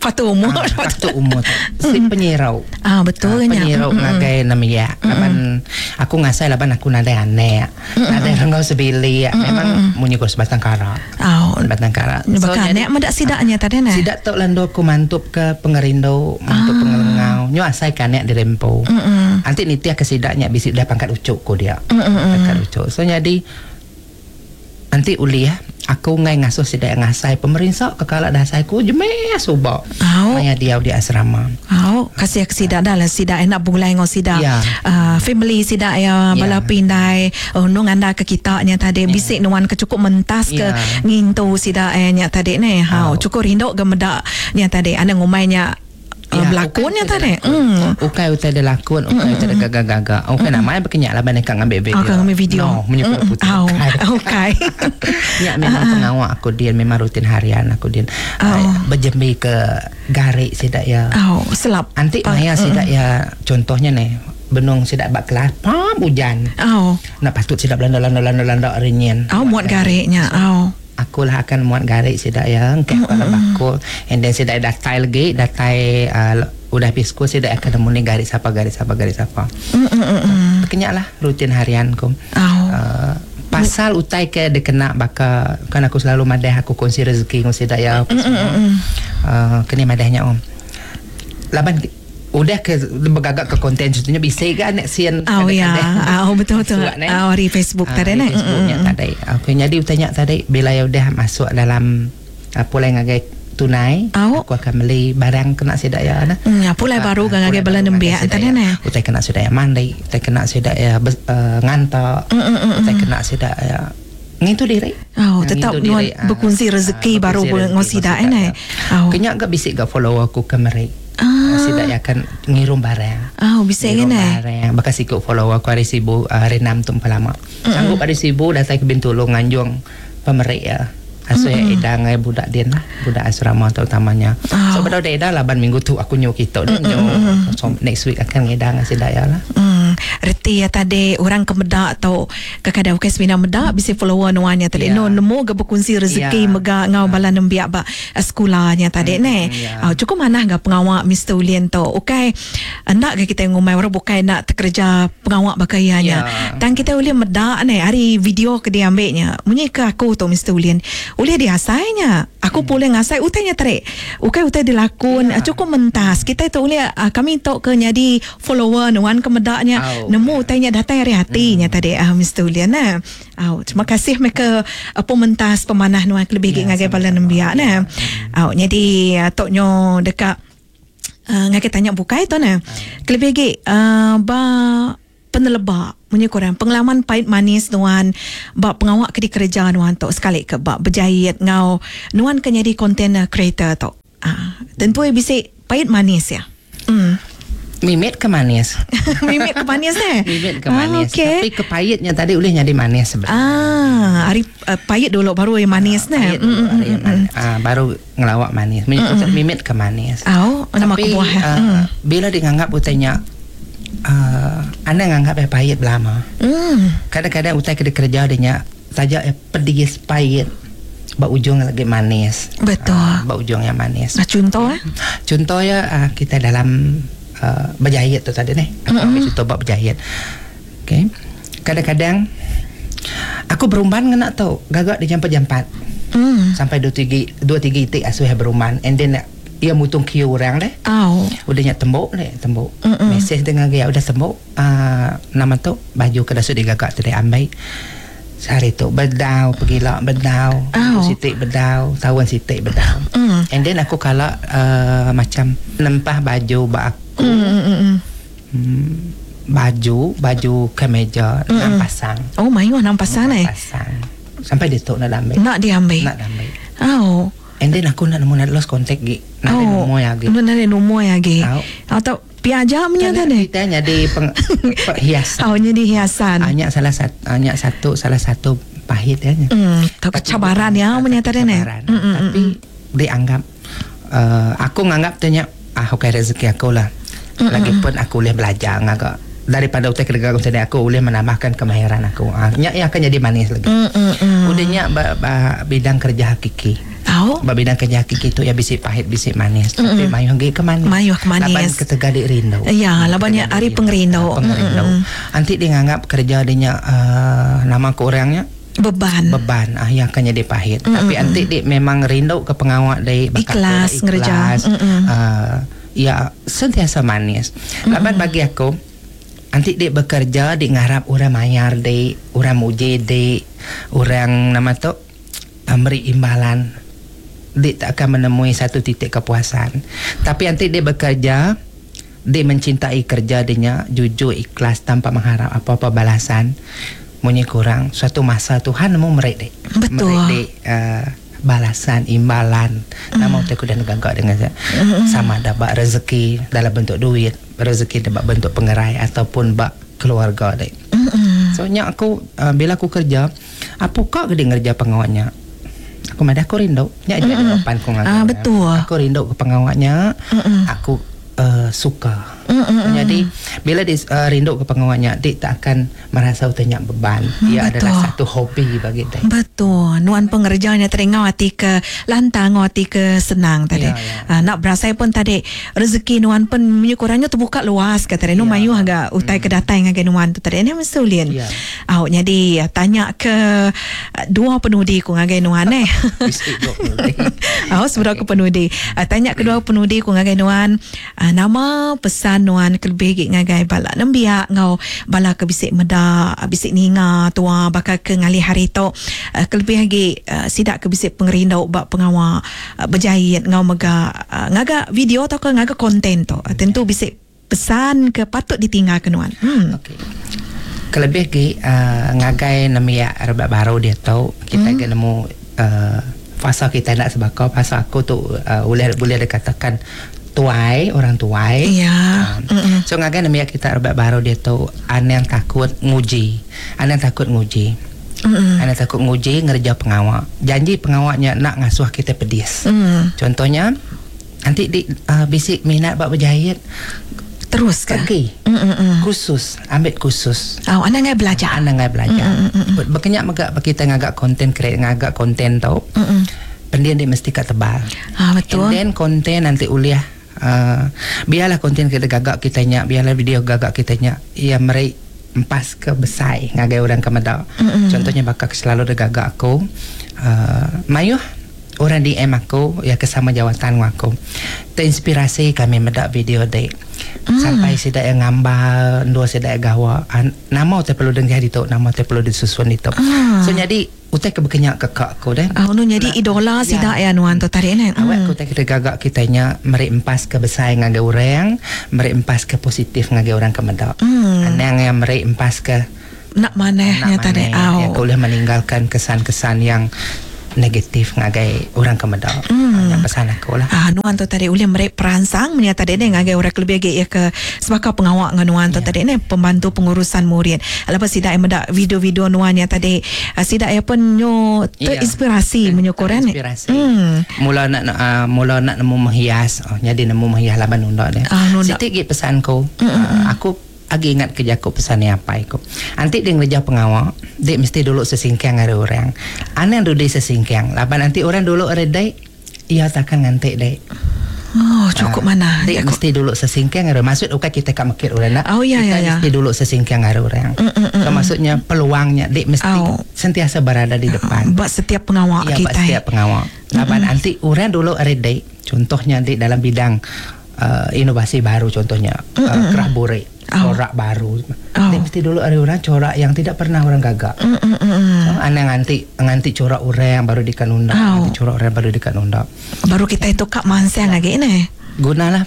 Patu umur.
Ah, patut umur tu. Si penyirau.
Ah, betul
Ah,
kan ya.
penyirau
Mm-mm.
ngagai namanya. Laban aku ngasai laban aku nadai aneh. Nadai renggau sebili. Memang munyi ko sebatang kara.
Oh.
Sebatang kara.
Bakal
jadi-
nek medak sidaknya tadi ne.
Sidak tok lando aku mantup ke pengerindu, mantup ah. pengelengau. Nyo asai kanek dirempo.
Mm-mm.
Nanti nitiah ke sidaknya bisik dah pangkat ucuk ko dia.
Mm-mm.
Pangkat ucuk. So jadi nanti uli ya, aku ngai ngasuh sidak ngasai pemerintah kekala dah asai ku jeme subak.
Au.
Maya dia di asrama.
Oh, kasih ke sidak dah lah sidak enak bulai ngau sidak.
Ya.
Uh, family sidak ya
Ya.
bala pindai oh nung anda ke kita nya tadi
Ya.
bisik nuan ke cukup mentas ke
Ya.
ngintu sidak eh nya tadi ne. Ha,
Au.
cukup rindok ke medak nya tadi anda ngumainya uh, berlakonnya
ukai
tadi.
utai
Hmm.
Ukai utai dia lakon, ukai utai dia gagak-gagak. Ukai nama berkenyak lah ban ngambil video.
Oh, ngambil video.
No, menyukur
Mm-mm.
putih.
Au,
Ukai.
ukai.
Ya memang pengawak aku dia memang rutin harian aku dia
Oh.
uh, berjembi ke garik sidak ya.
Oh, selap.
Antik
Pa-
maya sidak ya contohnya nih benung sidak bak kelas pam hujan.
Oh.
Nak patut sidak belanda landa landa landa rinyin.
Oh, muat gariknya. Oh.
Aku lah akan muat garik sidak ya engkau kalau bakul and then sidak datai lagi datai uh, udah pisku sidak akan nemu ni garik siapa garik siapa garik siapa.
Mm mm mm. mm.
Kenyak lah rutin harianku.
Oh.
Uh, pasal utai ke dia kena baka kan aku selalu madah aku kongsi rezeki kongsi daya apa semua. Uh, kena madahnya om. Laban udah ke bergagak ke konten contohnya bisa kan nak sian
Oh ya, oh betul betul.
Surat, ne?
Oh di Facebook
Ah,
tadi
di
ne.
Facebooknya tadi. Okey, jadi utanya tadi bila ya udah masuk dalam uh, pulai ngagai tunai,
Au.
aku akan beli barang kena sidak ya nah.
Hmm, ya, pulai baru kan ngagai bala nembiak tadi ne.
Utai kena sidak ya mandi, utai kena sidak ya bes- uh, ngantak,
Mm, mm, mm,
utai kena sidak ya ngintu diri.
Oh,
Ah,
tetap
ngintu
nuan
diri, ah.
berkongsi rezeki
Ah,
baru
berkongsi
boleh
rezeki,
ngosidak
ngosidak,
eh,
ya.
Oh.
Kenyak gak bisik gak follow aku ke merek.
Ah.
Sidak ya akan ngirum barang.
Oh, bisik
Ngirum
kan eh.
barang. Bekas ikut follow aku hari Sibu, ah, hari enam tu empat lama. Sanggup hari Sibu datang ke Bintulu nganjung pemerik ya. Asu mm-hmm. edang eh, budak dia lah, budak asrama terutamanya.
Oh.
So pada udah edang laban minggu tu aku nyu kita dia nyu. So next week akan ngedang sidak ya lah.
Hmm, reti ya tadi orang ke medak tau kadang bukan semina medak bisa follower nuannya tadi.
Ya.
No nemu ge berkongsi rezeki
Ya.
mega ngau bala nembiak ba eh, sekolahnya tadi
Hmm,
ne.
ya.
Ah, cukup manah ga pengawak Mister Ulin tu. Okey, hendak ke kita ngumai orang bukan nak terkerja pengawak bakayanya.
Ya.
Tang kita boleh medak ne hari video ke dia ambilnya. Munyi ke aku tu Mister Ulin. Ulih diasainya. Aku hmm. boleh ngasai utainya tarik. Ukai utai dilakon yeah. Cukup mentas. Kita tu ulih uh, kami tu ke jadi follower nuan ke medaknya oh, nemu yeah. utainya datang dari hatinya hmm. tadi uh, Mister Ulian nah. Oh, terima kasih mereka uh, pementas pemanah nuan lebih yeah, ngagai bala nembiak nah. Oh, jadi uh, toknyo dekat uh, ngagai tanya bukai tu nah. Kelebih lagi uh, ba penelebak punya korang pengalaman pahit manis nuan bab pengawak ke dikerja nuan tu sekali ke bab berjahit ngau nuan ke jadi content creator tu. Ah, tentu bisik pahit manis ya. Hmm.
Mimit ke manis.
Mimit ke manis eh.
Mimit ke manis.
Ah, okay.
Tapi kepahitnya tadi boleh jadi manis sebenarnya.
Ah, hari uh, pahit dulu baru yang manis
ah,
nah.
Mm, mm, mm, mm. Ah, baru ngelawak manis. Mimit, mm, mimit ke manis.
Oh, nama
tapi,
kebuah.
Uh, mm. Bila dianggap utainya Uh, anda nganggap eh pahit belama.
Mm.
Kadang-kadang utai kena kerja dia nya saja eh pedis pahit, bak ujung lagi manis.
Betul.
Uh, bak ujung yang manis.
Nah, contoh eh?
Contoh ya uh, kita dalam uh, berjahit tu tadi ni. Aku mm-hmm. ambil contoh bak berjahit. Okey. Kadang-kadang aku berumban ngena tu, gagak di jam empat.
Mm.
Sampai dua tiga dua tiga itik asuh berumban and then ia mutung kiu orang deh.
Oh.
Udah nyak tembok deh, tembok.
Mm-mm.
Mesej dengan dia udah tembok. Uh, nama tu baju ke dah digagak tadi ambil. Sehari tu bedau pergilah bedau.
Oh.
Sitik bedau, tahun sitik bedau.
Mm.
And then aku kalau uh, macam nempah baju bak aku.
Mm-mm.
Hmm, baju, baju kemeja enam pasang.
Oh, mayu enam pasang eh.
Pasang. Sampai dia tu nak ambil.
Nak diambil.
Nak diambil.
Oh.
And then aku nak nemu nak lost contact gi. Nak
oh,
nemu lagi.
Nak nemu lagi. Atau piaja punya tadi.
Kita jadi peng, hiasan.
Oh, jadi hiasan.
Hanya salah satu, hanya satu salah satu pahit ya.
Hmm, cabaran ya punya tadi ni.
Tapi dianggap uh, aku nganggap tanya ah okey rezeki aku lah. Lagipun aku boleh belajar ngagak daripada utai kerja aku tadi aku boleh menambahkan kemahiran aku. Ah, nyak akan jadi manis lagi.
Mm, mm, mm.
Udahnya ba, ba, bidang kerja hakiki.
Oh.
Ba bidang kerja hakiki tu ya bisik pahit bisik manis.
Mm-mm.
Tapi mayuh ge ke manis.
Mayuh ke manis.
Laban ketegal dik rindu.
Ya, labannya hari pengerindu.
Pengerindu. Nanti dia nganggap kerja dia nya uh, nama ke orangnya
beban.
Beban ah yang akan jadi pahit.
Mm-mm.
Tapi nanti dia memang rindu ke pengawak dia
ikhlas ngerja.
Uh, ya sentiasa manis. Laban
Mm-mm.
bagi aku nanti dia bekerja dia ngarap orang mayar dia, orang muji dia, orang nama tu beri imbalan. Dia tak akan menemui satu titik kepuasan. Tapi nanti dia bekerja, dia mencintai kerja dia, jujur, ikhlas tanpa mengharap apa-apa balasan. Munyi kurang suatu masa Tuhan nemu merik dia.
Betul.
Merik dia uh, balasan, imbalan.
Mm.
Nama aku dan gagak dengan saya.
Mm.
Sama ada bak rezeki dalam bentuk duit, rezeki dalam bentuk pengerai ataupun bak keluarga dek.
Mm.
So nyak aku uh, bila aku kerja, apa kau ke dia ngerja pengawaknya? Aku madah aku rindu. Nyak je jawapan aku ngagak.
Ah, betul.
Aku rindu ke pengawaknya.
Mm-mm.
Aku uh, suka.
Mm-mm.
Jadi bila dia uh, rindu ke pengawaknya, dia tak akan merasa utanya beban. Ia
Mm,
adalah satu hobi bagi dia.
Betul. Nuan pengerjanya teringau hati ke lantang, hati ke senang tadi.
Ya, ya.
Uh, nak berasai pun tadi rezeki nuan pun kurangnya terbuka luas kata dia. Nu
Ya.
mayu agak utai mm. ke datang ngagai nuan tu tadi. Ini mesulin.
Ya.
Awak jadi tanya ke dua penudi ku ngagai nuan eh.
Bisik dua penudi.
Awak sebelah ke penudi. Uh, tanya kedua penudi ku ngagai nuan uh, nama pesan nuan kelebih gig ngagai bala nembiak ngau bala ke bisik meda bisik ninga tua bakal ke ngalih hari tu uh, kelebih lagi uh, sidak ke bisik pengerindu bak pengawak uh, berjahit ngau mega uh, ngaga video atau ke ngaga konten tu uh, tentu bisik pesan ke patut ditinggalkan nuan. Hmm.
Okey. Kelebih lagi uh, ngagai nembiak rebak baru dia tu kita
Hmm.
hmm. nemu uh, fasa kita nak sebakau fasa aku tu uh, boleh boleh dikatakan tuai, orang tuai.
Ya.
Um, so ngagai nembiak kita rebak baru dia tu an yang takut nguji. An yang takut nguji.
Mm-mm.
An yang takut nguji ngerja pengawak. Janji pengawaknya nak ngasuh kita pedis.
Mm.
Contohnya nanti di uh, bisik minat bab berjahit
Terus ke?
pergi
Mm-mm.
khusus, ambil khusus.
Oh, anda ngai belajar.
Anda ngai belajar.
Mm,
Berkenyak megak kita ngagak konten create ngagak konten tau.
Mm-mm.
Pendian dia mesti kat tebal.
Ah, betul.
And then konten nanti uliah uh, biarlah konten kita gagak kita nyak, biarlah video gagak kita nyak. Ia merik empas ke besai ngagai orang ke medak.
Mm-mm.
Contohnya bakal selalu ada gagak aku Uh, mayuh orang D M aku ya ke sama jawatan aku. Terinspirasi kami medak video dek. Mm. Sampai sidak yang gambar, dua sidak gawa. Nama te perlu dengar itu, nama te perlu disusun itu. Mm. So jadi utai ke berkenyak ke kak aku deh.
Ah, nu jadi idola sidak ya nuan tu tarik ni.
Awak aku tak kita gagak kitanya meri empas ke besar ngagai orang, meri empas ke positif ngagai orang ke medak. Mm. Anang yang meri empas ke
nak manehnya tadi.
Yang boleh meninggalkan kesan-kesan yang negatif ngagai orang ke medak. Mm. Yang pesan aku lah.
Ah, nuan tu tadi boleh merek peransang menyata tadi ni ngagai orang lebih lagi ya ke sebab pengawak dengan nuan tu yeah. tadi ni pembantu pengurusan murid. Lepas sidak yang medak video-video nuan yang tadi sidak yang pun nyo terinspirasi yeah. menyukuran ni.
Terinspirasi. Mm. Mula nak uh, mula nak nemu menghias. Oh, jadi nemu menghias laban undak dia. Ah, Sitik gi pesanku. Mm-mm. Uh, aku agi ingat ke Jakub pesan ni apa iku. Nanti dia ngereja pengawak, dia mesti dulu sesingkang ada orang. Anang dulu sesingkang. Laban nanti orang dulu ada dek, ia takkan ngantik dek.
Oh, cukup uh, mana.
Dek mesti dulu sesingkang ada. Maksud bukan kita kat mekir orang nak.
Oh, ya,
kita
ya, ya.
Mesti dulu sesingkang ada orang.
Mm, mm, mm,
so, maksudnya peluangnya dek mesti
oh.
sentiasa berada di depan.
Buat setiap pengawak
ya,
kita.
Buat setiap pengawak. Laban mm, nanti orang dulu ada dek. Contohnya dek dalam bidang uh, inovasi baru contohnya mm, uh, kerah borek.
Oh.
Corak baru.
Oh.
Dia mesti dulu ada orang corak yang tidak pernah orang gagak.
Mm, mm, mm.
So, aneh nganti nganti corak orang baru dikanunda,
oh.
nganti corak orang baru dikanunda.
Baru kita itu kak mansang lagi ni.
Gunalah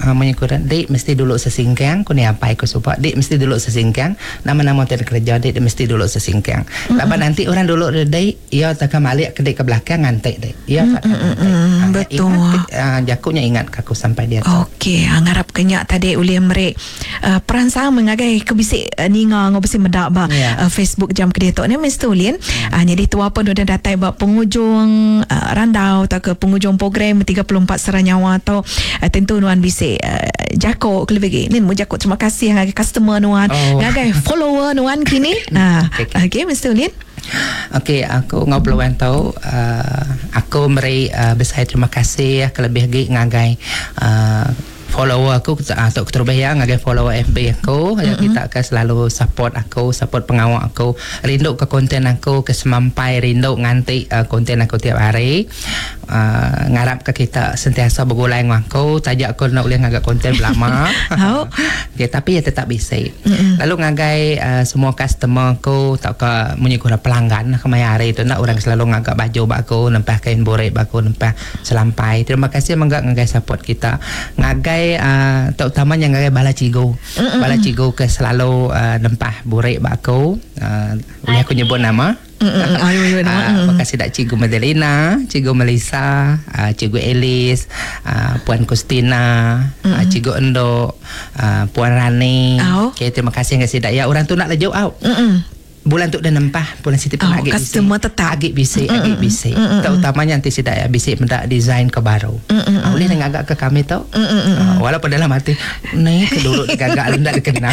uh, menyukuran dek mesti dulu sesingkang ku ni apa aku supa. Dek mesti dulu sesingkang nama-nama tak kerja dek mesti dulu sesingkang. Mm-hmm. Lepas nanti orang dulu dek ia takkan balik ke dek ke belakang ngantik dek. Ia tak
mm-hmm. Betul.
Ingat, uh, jakuknya ingat aku sampai dia.
Okey, ngarap kenyak tadi oleh merek uh, peransang mengagai kebisik uh, ninga ngobisi medak ba
yeah.
uh, Facebook jam ke dia tok ni mesti ulin.
Yeah.
Uh, jadi tua pun dah datai ba penghujung uh, randau atau ke penghujung program tiga puluh empat Seranyawa atau uh, tentu nuan bisik uh, jakok kelebih ni mu jakok terima kasih ngagai customer nuan,
oh.
ngagai follower nuan kini. Ha,
okey,
okey okay, Mister Ulin.
Okey, aku ngobrol tau uh, aku meri uh, besar terima kasih kelebih lagi ngagai uh, follower aku atau uh, terlebih ya ngagai follower F B aku mm-hmm. yang kita akan selalu support aku, support pengawak aku, rindu ke konten aku, ke semampai rindu nganti uh, konten aku tiap hari. Uh, ngarap ke kita sentiasa bergulai dengan aku, tajak aku nak boleh ngagak konten belama.
Oh.
Okay, tapi ya tetap bisik.
Mm-hmm.
Lalu ngagai uh, semua customer aku, tak ke munyi kurang pelanggan kemaya hari tu nak orang selalu ngagak baju bak aku, nempah kain borek bak aku, nempah selampai. Terima kasih menggak ngagai support kita. Ngagai uh, terutamanya ngagai bala cigu.
Mm-mm.
Bala cigu ke selalu uh, nempah borek bak aku. Uh, boleh aku nyebut nama?
Ayo, ayo,
uh, terima kasih dak Cikgu Madelina, Cikgu Melissa, uh, Cikgu Elis, uh, Puan Kustina, uh, Cikgu Endok, uh, Puan Rani.
Oh.
Okey, terima kasih kasih dak. Ya orang tu nak lejuk out.
Mm-mm.
Bulan tu dah nempah, bulan situ pun
oh,
agak
customer tetap
agak bisik, agak bisik. Terutamanya nanti sidak ya bisik mendak design ke baru.
Mm-mm.
Ah, boleh dengan agak ke kami tau.
Mm-mm.
Uh, walaupun dalam hati ni ke dulu gagak ndak dikenal.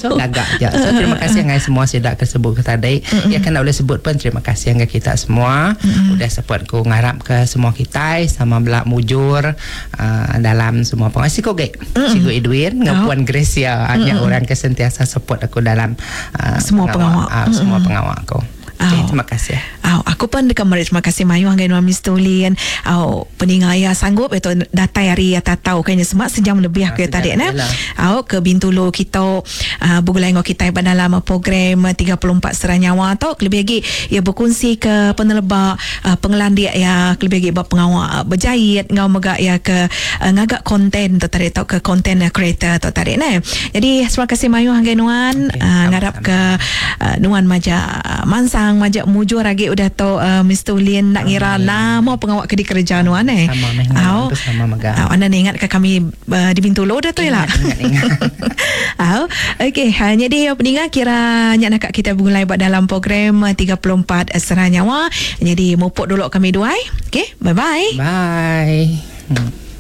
So gagak je. So terima kasih dengan semua sidak tersebut ke tadi.
Mm-mm.
Ya kan nak boleh sebut pun terima kasih dengan kita semua.
Mm-mm.
Udah support ku ngarap ke semua kita sama belak mujur uh, dalam semua pengasih kok gek. Cikgu Edwin dengan
Oh.
Puan Gracia hanya orang ke sentiasa support aku dalam uh,
Semua pengawak.
Uh, semua pengawak aku. Okay,
Oh.
terima kasih.
Aw, aku pun dekat meri terima kasih mayu hanggai nuan Mister Ulin. Aw, peninga ya sanggup itu datai hari ya tak tahu kayaknya semak sejam lebih aku
Ah,
ya tadi
sejam
nah.
lebih lah.
Aw, ke Bintulu kita uh, bergulai dengan kita dalam program tiga puluh empat Seranyawa tu lebih lagi ya berkongsi ke penelebak uh, pengelandik ya lebih lagi buat pengawak uh, berjahit ngau megak ya ke uh, ngagak konten tu tadi tau ke konten creator tu tadi nah. Jadi terima kasih mayu hanggai nuan
Okey,
uh, ngarap
sama-sama.
ke uh, nuan maja uh, mansang majak mujur lagi udah tu uh, Mister Ulin nak ngira nama pengawak ke di kerja nuan eh.
Sama meh
Au.
tu sama megah.
Au, anda ni ingat ke kami uh, di Bintulu dah tu lah.
Ingat, ingat, ingat.
Au. Okey, ha, jadi pendengar kira nyak nak kita bergulai buat dalam program tiga puluh empat Seranyawa. Jadi mupuk dulu kami dua. Okey, bye-bye.
Bye. Hmm.